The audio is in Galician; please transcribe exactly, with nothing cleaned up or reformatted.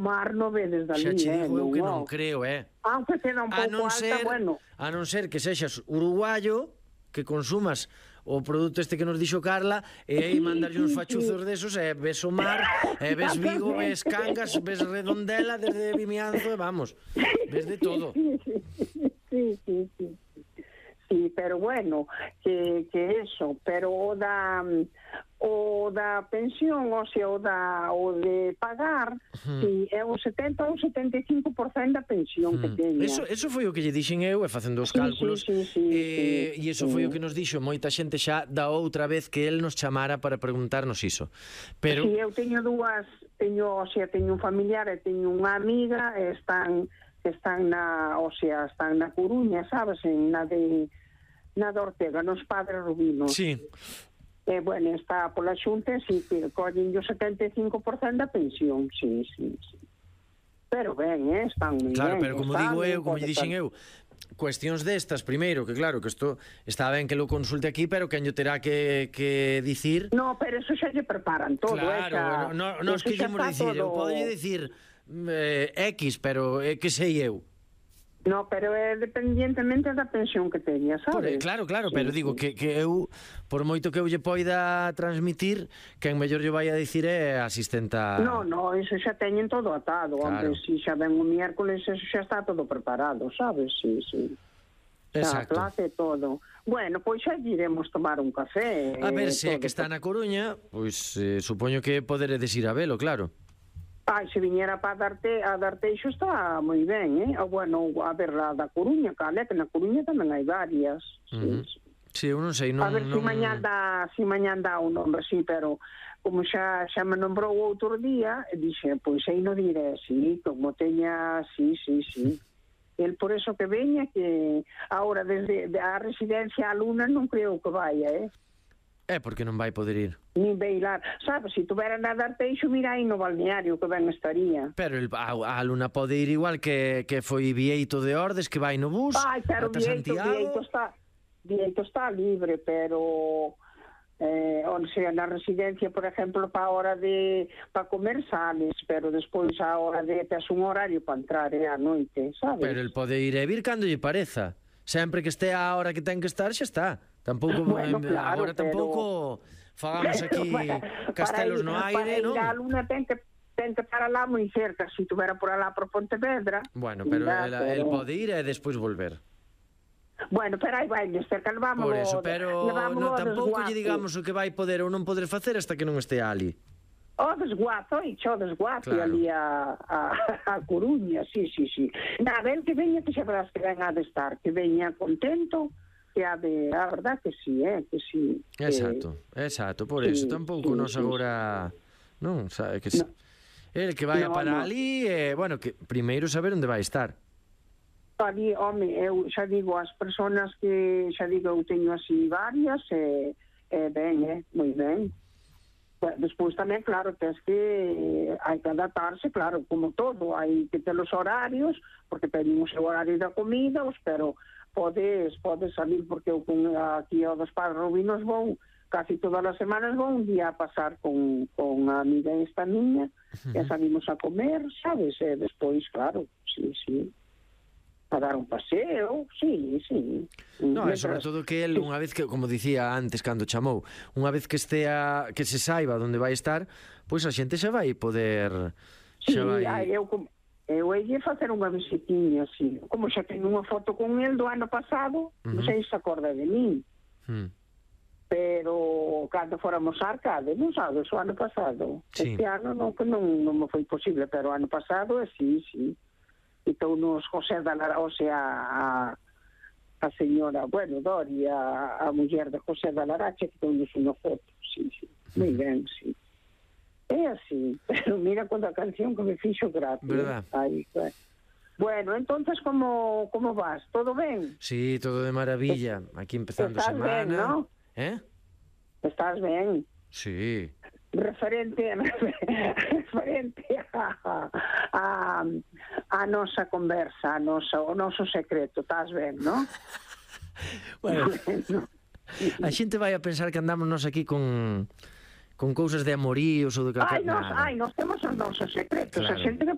mar no vedes dali, Xa che eh, digo eu que non, non creo, eh. aunque queda un A pouco non alta, ser, bueno. a non ser que sexas uruguayo, que consumas o produto este que nos dixo Carla, e aí Sí, mandarlle uns sí, fachuzos sí. desos, e ves o mar, e ves Vigo, ves Cangas, ves Redondela desde Vimianzo, e vamos, ves de todo. Sí, sí, sí, sí, sí. Sí, pero bueno, que, que eso, pero o da o da pensión, o sea, o da o de pagar, uh-huh. Si é o setenta ou setenta e cinco por cento da pensión uh-huh. que teña. Eso, eso foi o que lle dixen eu, e facendo os sí, cálculos, sí, sí, sí, e, sí, e eso sí. foi o que nos dixo moita xente xa da outra vez que el nos chamara para preguntarnos iso. Pero si, sí, eu teño dúas, teño, o sea, teño un familiar e teño unha amiga, e están están na, o sea, están na Coruña, sabes, en na de na de Ortega, nos Padres Rubinos. Sí. E, eh, bueno, está pola xunta, si, que collen o setenta e cinco por cento da pensión, sí, sí, sí. Pero ben, eh, están moi claro, ben. Claro, pero como digo eu, como lle dixen eu, cuestións destas, primeiro, que claro, que isto está ben que lo consulte aquí, pero que yo terá que, que dicir... No, pero eso xa lle preparan todo. Claro, esa, no, no, no es que lle mos dicir, todo... eu podolle dicir eh, X, pero é eh, que sei eu. No, pero é dependientemente da pensión que teña, sabes? Por, claro, claro, sí, pero digo sí. que, que eu, por moito que eu lle poida transmitir, que en mellor lle vai a dicir é asistenta... No, no, eso xa teñen todo atado, claro. Hombre, si xa ven o miércoles, eso xa está todo preparado, sabes? Sí, sí. Exacto. Xa, place todo. Bueno, pois xa iremos tomar un café. A ver, se é que está na Coruña, pois eh, supoño que poderedes ir a velo, claro. Ai, se viñera para darte, a Darteixo está moi ben, eh? O, bueno, a ver, a da Coruña, cale, que na Coruña tamén hai varias. Uh-huh. Sí, sí, eu non sei, non... A ver non... se mañán dá, si mañán dá un nombre, sí, pero como xa, xa me nombrou outro día, dixe, pois aí non diré, sí, como teña, sí, sí, sí. El por eso que veña, que ahora desde a residencia a Luna non creo que vaya, eh? É porque non vai poder ir. Nin beilar. Sabes, se tuvera na Darteixo, mira aí no balneario que ben estaría. Pero el, a, a Luna pode ir igual que, que foi Vieito de Ordes, que vai no bus. Ai, pero ata Vieito, Santiago. Vieito está, Vieito está libre, pero... Eh, o sea, na residencia, por exemplo, para a hora de para comer sales, pero despois a hora de tes un horario para entrar é a noite, sabes? Pero el pode ir e vir cando lle pareza. Sempre que este a hora que ten que estar, xa está. Tampouco bueno, claro, agora tampouco pero... fagamos aquí para, castelos no aire, non? Para ir a Luna ten que ten que estar alá moi cerca, se si tuvera por alá por Pontevedra. Bueno, pero el, pero... el pode ir e despois volver. Bueno, pero aí vai cerca, levámoslo. Por eso, pero no, tampouco lle digamos o que vai poder ou non poder facer hasta que non este ali. O desguazo, e xo desguazo claro. Ali a, a, a Coruña, sí, sí, sí. Nada, el que veña, que xa verás que venga de estar, que veña contento, que a de, a verdad que sí, eh, que sí. Exacto, que... exacto, por sí, eso, tampouco sí, nos sí, agora, non, sabe que sí. No. El que vai no, para no. ali, eh, bueno, que primeiro saber onde vai estar. Ali, home, eu xa digo, as persoas que, xa digo, eu teño así varias, e, eh, ben, eh, moi ben. Despois tamén, claro, tens que eh, hai que adaptarse, claro, como todo, hai que ter os horarios, porque tenemos o horario da comida, pero podes, podes salir, porque eu con, aquí ao dos Padres Rubinos vou, casi todas as semanas vou un día a pasar con, con a amiga esta niña, uh-huh. E salimos a comer, sabes, e despois, claro, sí, sí, a dar un paseo, sí, sí. No, é sobre todo que el, unha vez que, como dicía antes cando chamou, unha vez que estea, que se saiba onde vai estar, pois a xente xa vai poder... Sí, xa vai... Ai, eu, eu ia facer unha visitiña, así, como xa teño unha foto con el do ano pasado, uh-huh. Non sei se acorda de mí, uh-huh. Pero cando fóramos a Arcade, non sabes, o ano pasado, sí. Este ano non, que non, non me foi posible, pero o ano pasado, sí, sí. E tounos José da Lara, o sea, a, a señora, bueno, Dori, a, a muller de José da Larache, que tounos unha foto, sí, sí, moi ben, sí. É así, pero mira con a canción que me fixo gratis. Verdad. Aí, pues. Bueno, entonces, como, como vas? Todo ben? Sí, todo de maravilla, aquí empezando Estás semana. Ben, ¿no? Eh? Estás ben? Sí. Referente referente a, a, a nosa conversa, a nosa, o noso secreto, estás ben, non? Bueno, bueno, a xente vai a pensar que andamos nós aquí con con cousas de amoríos ou de calquer... Ai, nos, ai, nos temos os nosos secretos, claro. A xente que